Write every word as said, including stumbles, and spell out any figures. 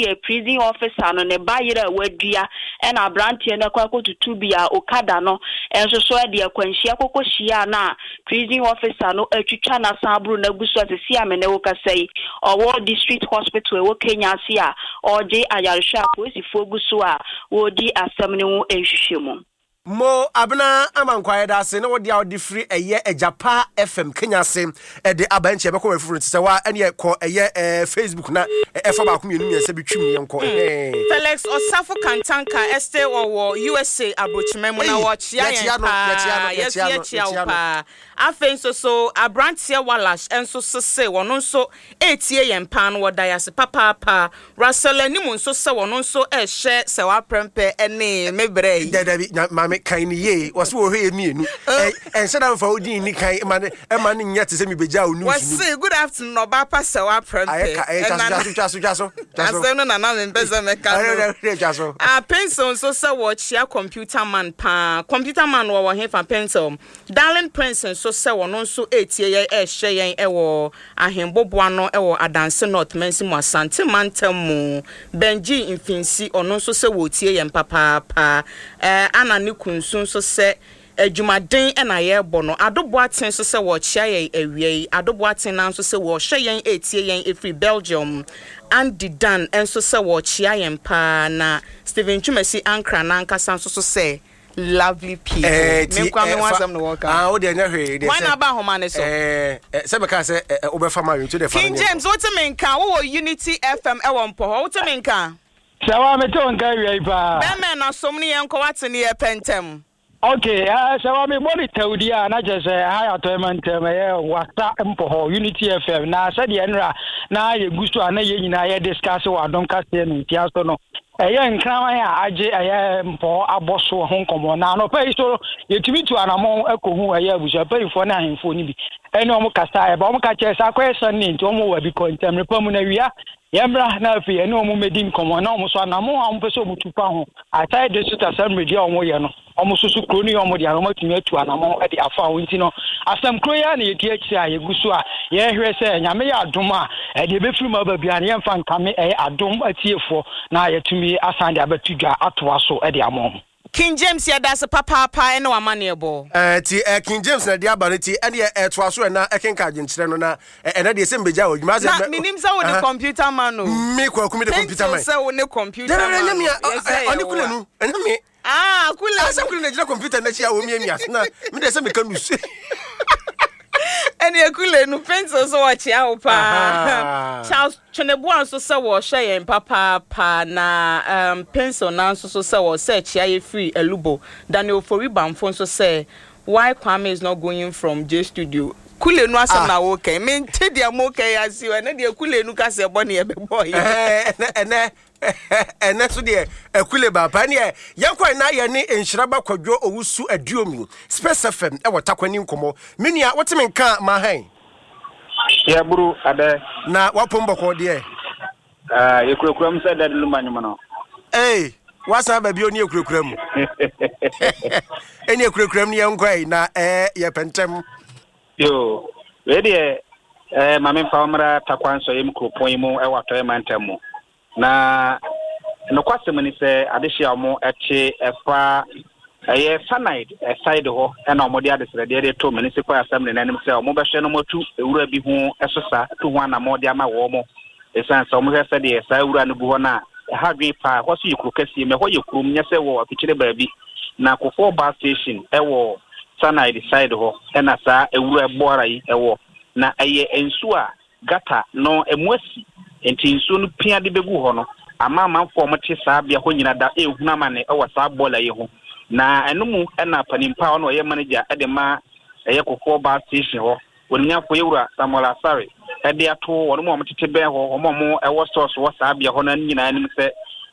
Yɛ prison officer no ne ba yere a wadua ɛna aberanteɛ no akɔ akɔtutu bi a okada no nso so de akwanhyia kɔkɔ hyia na prison officer no atwitwa n'asan aboro n'agu so. Asesi a me ne wo kasa yi, ɔwɔ District Hospital ɛwɔ Kenyase a ɔregye ayarehwɛ a polisifoɔ gu so a wɔredi asɛm no ho nhwehwɛ mu. Mo Abena ama nkwa, yɛda ase ne wode a wode firi ɛyɛ Agyapa F M Kenyase ɛde aba. Nkyɛ ɛbɛkɔ wɔ foforo nti sɛ wa ɛne kɔ ɛyɛ ɛɛ Facebook na ɛfa baako, mmienu, mmiɛnsa bi twim ne yɛnkɔ ɛhɛn. Felix Ɔsafo Kantanka ɛsɛ wɔwɔ U S A aburokyima mu na Ei, wɔkyea yɛkyea yɛn no, yɛkyea no, paa. yɛkyea Yɛso no, yɛkyea wo yɛkyea no. paa. Afei nso so aberanteɛ Walash nso sese wɔno nso etie yɛn paa no, wɔda yɛ ase papaapa. Russell anim nso sɛ wɔno nso ɛhyɛ sɛ waprɛmpɛ ɛne me brɛ yi. Dabi, na maame kan ne yie, wɔso wɔhwɛ yɛ mmienu. Ɛ ɛnhyɛ da mfa wo din ni kan ma ne ɛma ne nyɛ te sɛ mebɛgya wo news no mu. Wɔse good afternoon, ɔbaa pa sɛ waprɛmpɛ. Ayɛ ka ɛyɛ twa so, twa so, twa so, twa so. Asɛm no nana mempɛ sɛ mɛka no. Ɛyɛ ɛyɛ twa so. Ah, Pencil nso sɛ wɔkyea Computer Man paa. Computer Man wɔwɔ hefa, Pencil? Darling Prince nso sɛ wɔno nso etie yɛn, ɛɛhyɛ yɛn ɛwɔ Ahemboboa no ɛwɔ Adanse North Mansi mu, Asante mantam mu. Benji Mfinsi, ɔno nso sɛ wɔtie yɛn papaapa. ɛɛ ana ne kunsu nso sɛ adwumaden ɛna yɛrebɔ no. Adoboaten nso sɛ wɔkyea yɛn awia yi. Adoboaten na nso sɛ wɔhyɛ yɛn, etie yɛn efiri Belgium. Andy Dan nso sɛ wɔkyea yɛn paa, na Stephen Twumasi Ankra n'ankasa nso so sɛ lovely people. Ɛɛ ti Me nkwa me ɛ, ho fa- asɛm na wɔka. Ah, wo deɛ nyɛ hwee deɛ. Wɔn Sɛ na aba ahoma ne so. ɛɛ ɛ, sɛ mɛka sɛ ɛ, ɛ, wobɛfa ma nti wode fa no King ne James, wote me nka? Wowɔ Unity F M ɛwɔ mpɔ hɔ, wote me nka? Sɛ wa mete wo nka awia yi paa. Bɛmɛ na som ne yɛn nkɔ, wate ne yɛ pɛntɛm. Ok, uh, sɛ wa mebɔ ne tawdi a, na kyerɛ sɛ ha yɛ Atɔe mantam, ɛyɛ Wasa mpɔ hɔ, Unity F M. Na sɛdeɛ nnora na yɛgu so a na yɛn nyinaa yɛ discuss wɔ Adom kaseɛ no ntia so no, ɛyɛ nkraman a agye ɛyɛ mpɔ abɔ so ho nkɔmmɔ. Na anɔpa yi so yɛtumi tu anammɔn akɔhu ɛyɛ abusuapanyimfoɔ ne ahemfoɔ no bi ɛne ɔmo kasa. Ɛba ɔmo ka kyerɛ sɛ akɔyɛ Sunday nti ɔmo wɔ abi kɔ ntɛmmerɛ pa mu na wia yɛmmra na afei ɛne ɔmo mɛdi nkɔmmɔ, na ɔmo so anammɔn a ɔmo pɛ sɛ ɔmo tu fa ho aside District Assembly deɛ a ɔmo yɛ no, ɔmo soso kuro no yɛ ɔmo deɛ a ɔmo atumi atu anammɔn de afa ho. Nti no asɛm kuro yi a na yɛdi akyire a yɛgu so a yɛhwɛ sɛ Nyame yɛ adom a, ɛdeɛ ɛbɛfiri mu aba biara no yɛmfa nkame ɛyɛ Adom atiefoɔ na yɛtumi asan de abɛto dwa atoa so de ama ɔmo. King James, yɛda ase papaapa ɛne wamanneɛ bɔ. Ɛɛ ti ɛ, King James na de aba no ti ɛne ɛtoa so ɛna ɛkenka adwenkyerɛ no na ɛ, ɛnɛ deɛ sɛ mbɛgya wɔ adwuma Na menim sɛ wode Computer Man o. Me Kwaku, me de Computer Man. Pencil sɛ wo ne Computer Dɛdɛdɛ Man. ɛnyɛ me a Yɛsɛ ɛ, ɔne yɛwo kule a. no ɛnyɛ me. Ah, kule. Asɛ kule na gyina computer n'akyi a wɔmiamia so na me deɛ sɛ meka news. Ɛne ekule no. Pencil so wɔkyea wo paa. Aha. Charles Tweneboa nso sɛ wɔhyɛ yɛn papaapa, na um, Pencil na nso so sɛ wɔsɛ kyea yɛ firi Elubo. Daniel Ofori Bamfo nso sɛ why Kwame is not going from J Studio. Kule no asɛm Ah. na wokɛn mente deɛ mokɛn ase o. Ɛne deɛ kule no kasɛ bɔ ne yɛbɛbɔ yɛ. Ɛɛ, ɛnɛ ɛnɛ ɛnɛ so deɛ ɛkule baapa ɛneɛ yɛnkɔ na yɛne Nhyiraba Kwadwo Owusu Aduomi, Space F M ɛwɔ Takwani nkɔmmɔ. Me nua, wote me nka ma hɛn? Yɛburu adɛ. Na wapom bɔkɔ deɛ? Ah, yɛkurakura mu sɛ dade luma nwom no. Ee, wasan ba bio ne yɛkurakura mu. Ɛne yɛkurakura mu ne yɛnkɔ yi na ɛɛ yɛpɛ ntɛm. Yo, wei deɛ eh, ma memfa wo mmra Takwa Nsɔyɛm kuropɔn yi mu ɛwɔ Atɔeɛ mantam mu. Na nokwasɛm ni sɛ adehye a ɔmo ɛte ɛfa ɛyɛ Sanide side hɔ ɛna ɔmo de adesrɛdeɛ de to Municipal Assembly n'anim sɛ ɔmo bɛhwɛ no ɔmo atu ewura bi ho ɛso sa tu ho anammɔ de ama wɔn mo, ɛsiane sɛ ɔmo hwɛ sɛdeɛ saa ewura no gu hɔ no a ɛha adwene paa. Ɛhɔ so yɛ kuro kɛseɛ mu, ɛhɔ yɛ kurom, nyɛ sɛ wɔ afikyire baabi. Na Kofoɔ bus station ɛwɔ Sanide side hɔ ɛna saa ewura bɔɔra yi ɛwɔ, na ɛyɛ nsuo a gutter no ɛmu asi, nti nsuo no pia de bɛgu hɔ no ama amanfoɔ a wɔte saa bea hɔ nyina da ɛhunu amane ɛwɔ saa bɔɔla yi ho. Na ɛno mu ɛna panimpa a ɔno ɔyɛ manager ɛde ma ɛyɛ Kofoɔ bus station hɔ, onimnyafo yɛwura Samuel Asare, ɛde ato wɔn mu a wɔtete bɛn hɔ, wɔn a wɔn ɛwɔ stores wɔ saa bea hɔ no nyinaa anim sɛ